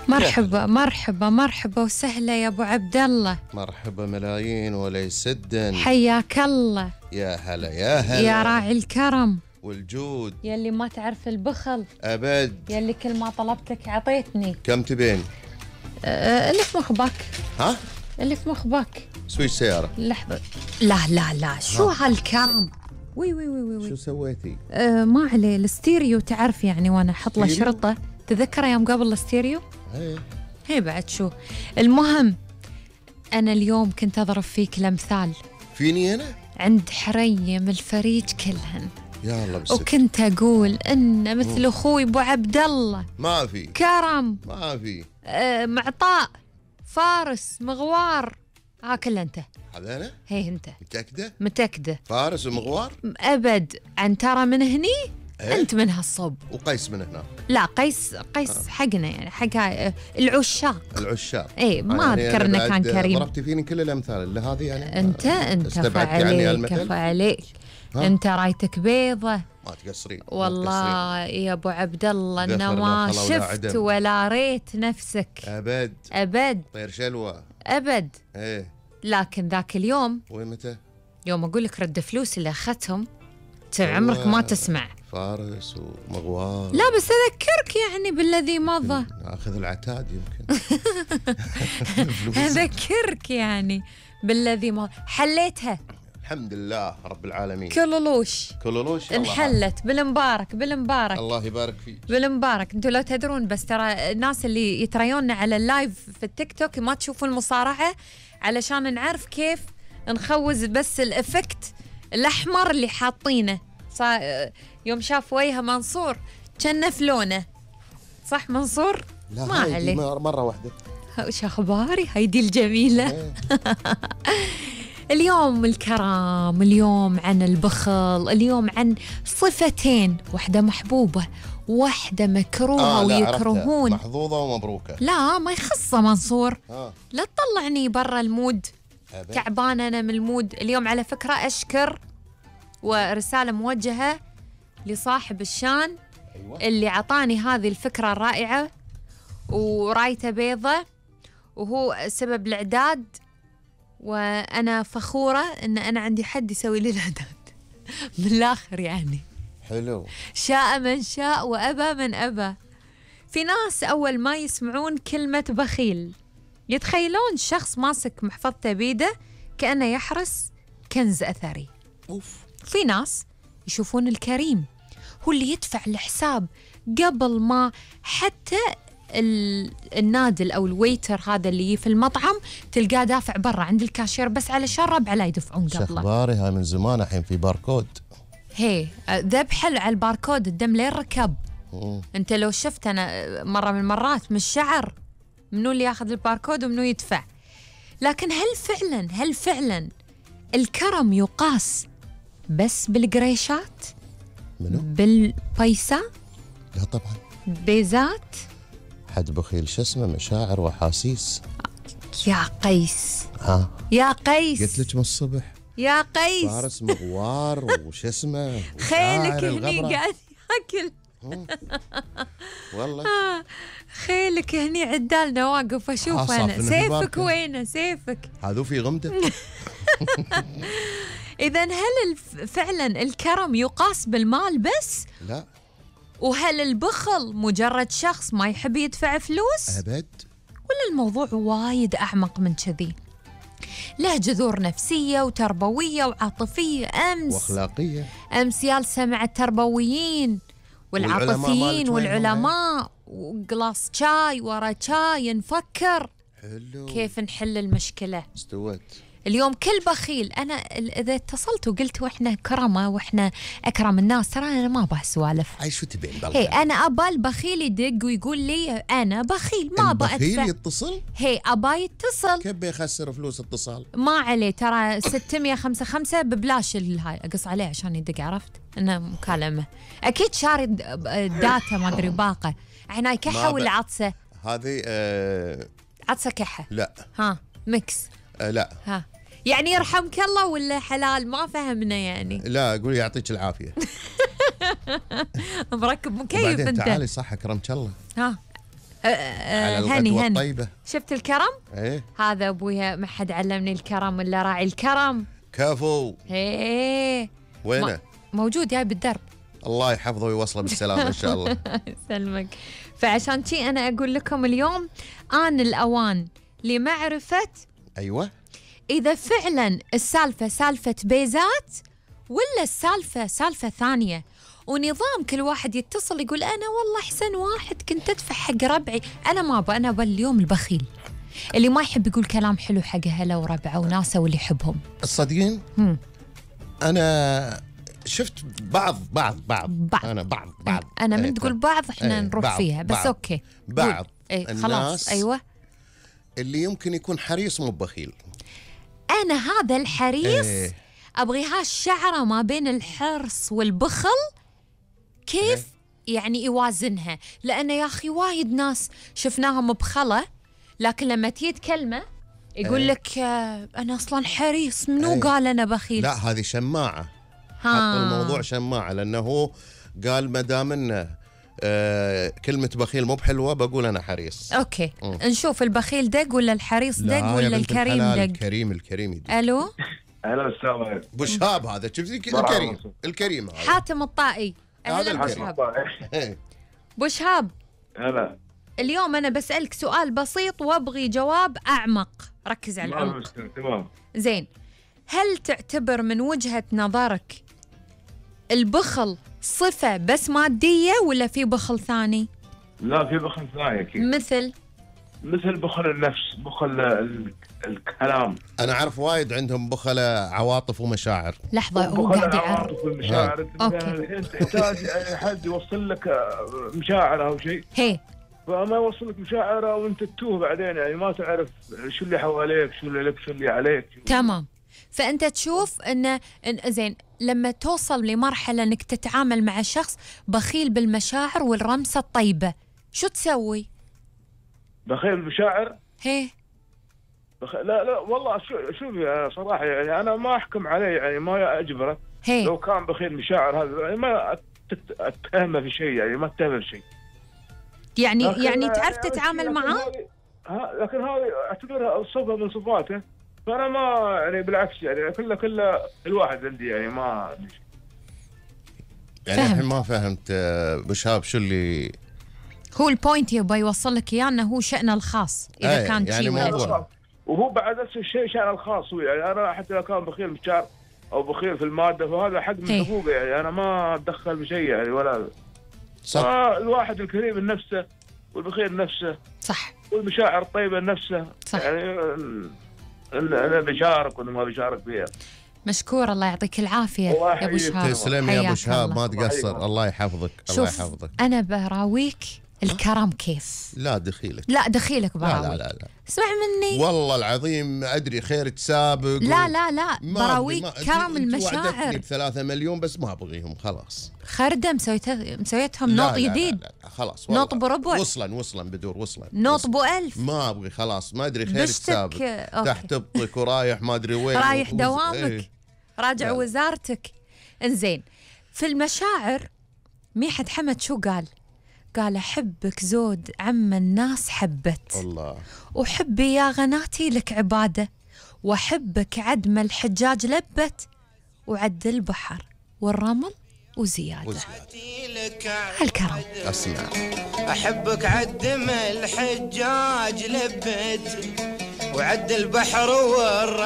مرحبا مرحبا مرحبا وسهلا يا ابو عبد الله. مرحبا ملايين ولا يسدن. حياك الله. يا هلا يا هلا يا راعي الكرم والجود، يلي ما تعرف البخل، ابد يلي كل ما طلبتك عطيتني. كم تبين؟ اللي في مخبك. ها؟ اللي في مخبك. سويش سيارة. لحظة. لا شو هالكرم؟ وي شو سويتي؟ ما عليه الستيريو، تعرف يعني وانا احط له شرطة. تذكر يوم قبل الستيريو؟ هي بعد شو المهم، انا اليوم كنت اضرب فيك الامثال. فيني انا؟ عند حريم الفريج كلهن. يا الله بالستر. وكنت اقول ان مثل اخوي ابو عبد الله ما في كرم، ما في معطاء، فارس، مغوار، كله انت. هذا انا؟ هي انت. متأكدة فارس ومغوار؟ ابد. عنترة من هني. انت من هالصوب. وقيس من هناك. لا قيس حقنا يعني حق العشاق. اي ما اذكر انه كان كريم. ضربتي فيني كل الامثال اللي هذه يعني. انت كفى عليك. انت رايتك بيضة. ما تقصرين والله يا ابو عبد الله انه ما شفت ولا ريت نفسك ابد. طير شلوى ابد. ايه لكن ذاك اليوم. ومتى؟ يوم اقول لك رد فلوس اللي اخذتهم عمرك ما تسمع. فارس ومغوار. لا بس اذكرك يعني بالذي مضى. اخذ العتاد يمكن. اذكرك يعني بالذي مضى. حليتها الحمد لله رب العالمين. كلولوش انحلت بالمبارك. الله يبارك فيك بالمبارك. انتوا لو تدرون بس ترى الناس اللي يتريوننا على اللايف في التيك توك ما تشوفون المصارعة علشان نعرف كيف نخوز بس الافكت الاحمر اللي حاطينه. يوم شاف وجه منصور كان فلونه. صح منصور؟ لا ما عليه. مرة واحدة. وش اخباري هيدي الجميلة. اليوم الكرم، اليوم عن البخل، اليوم عن صفتين، واحدة محبوبة واحدة مكروهة ويكرهون. محظوظة ومبروكة. لا ما يخصه منصور. لا تطلعني برا المود. تعبان أنا من المود اليوم على فكرة. أشكر ورسالة موجهة لصاحب الشان. اللي عطاني هذه الفكرة الرائعة ورايته بيضة وهو سبب الإعداد، وأنا فخورة إن أنا عندي حد يسوي لي الإعداد. بالآخر يعني حلو. شاء من شاء وأبى من أبى. في ناس أول ما يسمعون كلمة بخيل يتخيلون شخص ماسك محفظته بيده كأنه يحرس كنز أثري. في ناس يشوفون الكريم هو اللي يدفع الحساب قبل ما حتى النادل أو الويتر هذا اللي في المطعم تلقاه دافع برا عند الكاشير بس علشان ربع لا يدفعون قبله. شخباري هاي من زمان الحين في باركود. هي ذبح على الباركود الدم لين ركب. انت لو شفت انا مرة من المرات من الشعر منو اللي ياخذ الباركود ومنو يدفع. لكن هل فعلا الكرم يقاس بس بالقريشات؟ منو؟ بالبيسة؟ لا طبعا. بيزات؟ حد بخيل شو اسمه مشاعر وحاسيس. يا قيس. يا قيس قلت لك من الصبح يا قيس. فارس مغوار وش اسمه خيلك هني قاعد ياكل. والله خيلك هني عدالنا واقف اشوف انا. سيفك وينه سيفك؟ هذو في غمده. اذا هل فعلا الكرم يقاس بالمال بس؟ لا. وهل البخل مجرد شخص ما يحب يدفع فلوس؟ ابد. ولا الموضوع وايد اعمق من كذي؟ له جذور نفسية وتربوية وعاطفية واخلاقية. امس جالسة مع التربويين والعاطفيين والعلماء وقلاص شاي ورا شاي نفكر حلو كيف نحل المشكلة. استوت اليوم كل بخيل. أنا إذا اتصلت وقلت وإحنا كرمة وإحنا أكرم الناس ترى أنا ما أبغى سوالف. أي شو تبين بالله؟ هي أنا أبى البخيل يدق ويقول لي أنا بخيل ما أبى أدفع. البخيل يتصل؟ هي أبى يتصل. كيف بيخسر فلوس اتصال؟ ما عليه ترى 655 ببلاش الهاي أقص عليه عشان يدق. عرفت إنه مكالمة أكيد شاري داتا ما أدري باقة. عناي كحة ولا عطسة؟ هذه عطسة كحة. لا. ميكس. لا. يعني يرحمك الله ولا حلال ما فهمنا يعني. لا أقول يعطيك العافية. مركب مكيف وبعدين انت. تعالي صح أكرمك الله. على هني الغدوة هني الطيبة. شفت الكرم؟ ايه هذا ابويا، ما حد علمني الكرم الا راعي الكرم. كفو. ايه وينه؟ موجود جاي بالدرب. الله يحفظه ويوصله بالسلامة إن شاء الله. يسلمك. فعشان شي أنا أقول لكم اليوم آن الأوان لمعرفة أيوة إذا فعلا السالفة سالفة بيزات ولا السالفة سالفة ثانية، ونظام كل واحد يتصل يقول أنا والله أحسن واحد كنت أدفع حق ربعي. أنا ما أبغى، أنا أبغى اليوم البخيل اللي ما يحب يقول كلام حلو حق أهله وربعه وناسه واللي يحبهم. الصدقين أنا شفت بعض أنا من تقول بعض إحنا نروح فيها بس أوكي. بعض الناس خلاص أيوة اللي يمكن يكون حريص مو بخيل. أنا هذا الحريص أبغيها الشعرة ما بين الحرص والبخل كيف يعني يوازنها، لأن يا أخي وايد ناس شفناهم بخلة لكن لما تيجي تكلمه يقول لك أنا أصلا حريص، منو قال أنا بخيل؟ لا هذه شماعة. حط الموضوع شماعة، لأنه هو قال ما دام إنه كلمة بخيل مو بحلوة بقول أنا حريص. أوكي نشوف البخيل دق ولا الحريص دق ولا الكريم دق؟ الكريم يدق. ألو هلا السلام. ابو شهاب هذا شفتي الكريم هذا حاتم الطائي. هذا أهلا الكريم. ابو شهاب هلا. اليوم أنا بسألك سؤال بسيط وأبغي جواب أعمق، ركز على العمق. تمام. زين، هل تعتبر من وجهة نظرك البخل صفة بس مادية ولا في بخل ثاني؟ لا في بخل ثاني أكيد. مثل بخل النفس، بخل الكلام. أنا أعرف وايد عندهم بخلة عواطف ومشاعر. لحظة هو قاعد عواطف ومشاعر. الحين تحتاج حد يوصل لك مشاعر أو شيء. فما يوصل لك مشاعر وأنت تتوه بعدين، يعني ما تعرف شو اللي حواليك، شو اللي لك، شو اللي عليك. تمام. فأنت تشوف إن زين لما توصل لمرحلة إنك تتعامل مع شخص بخيل بالمشاعر والرمسة الطيبة، شو تسوي؟ بخيل بالمشاعر؟ لا والله شوفي صراحة يعني أنا ما أحكم عليه، يعني ما أجبره. لو كان بخيل مشاعر هذا يعني ما أتهمه في شيء، يعني ما أتهمه في شيء. يعني تعرف تتعامل معه؟ لكن هذه أعتبرها صفة من صفاته، فأنا ما يعني بالعكس يعني كله الواحد عندي، يعني ما عندي شيء. يعني الحين ما فهمت ابو شهاب شو اللي هو البوينت يبغى يوصل لك اياه، انه هو شأنه الخاص اذا كان يعني موضوع. وهو بعد نفس الشيء شأنه الخاص هو، يعني انا حتى لو كان بخيل بالشعر او بخيل في الماده فهذا حق من حقوقه، يعني انا ما اتدخل بشيء يعني ولا صح. الواحد الكريم لنفسه والبخيل نفسه صح، والمشاعر الطيبه نفسه صح. يعني انا بشارك ولا ما بشارك فيها. مشكور، الله يعطيك العافيه يا ابو شهاب. تسلم يا ابو شهاب، ما تقصر. الله يحفظك. الله يحفظك. انا براويك الكرم كيف. لا دخيلك. لا دخيلك براويك. لا اسمع مني والله العظيم ادري خيرك سابق. لا براويك كرم المشاعر. ب3 مليون بس ما ابغيهم خلاص. خردة مسويتهم نوط جديد. لا خلاص نوط بربع. وصلا بدور وصلا. نوط ب1000. ما ابغي خلاص، ما ادري خيرك سابق. تحت ابطك ورايح ما ادري وين. رايح دوامك. راجع وزارتك. انزين، في المشاعر ميحد حمد شو قال؟ قال أحبك زود عم الناس حبت الله، وحبي يا غناتي لك عبادة، وأحبك عد ما الحجاج لبت وعد البحر والرمل وزيادة. هالكرم أسمع. أحبك عد ما الحجاج لبت وعد البحر والرمل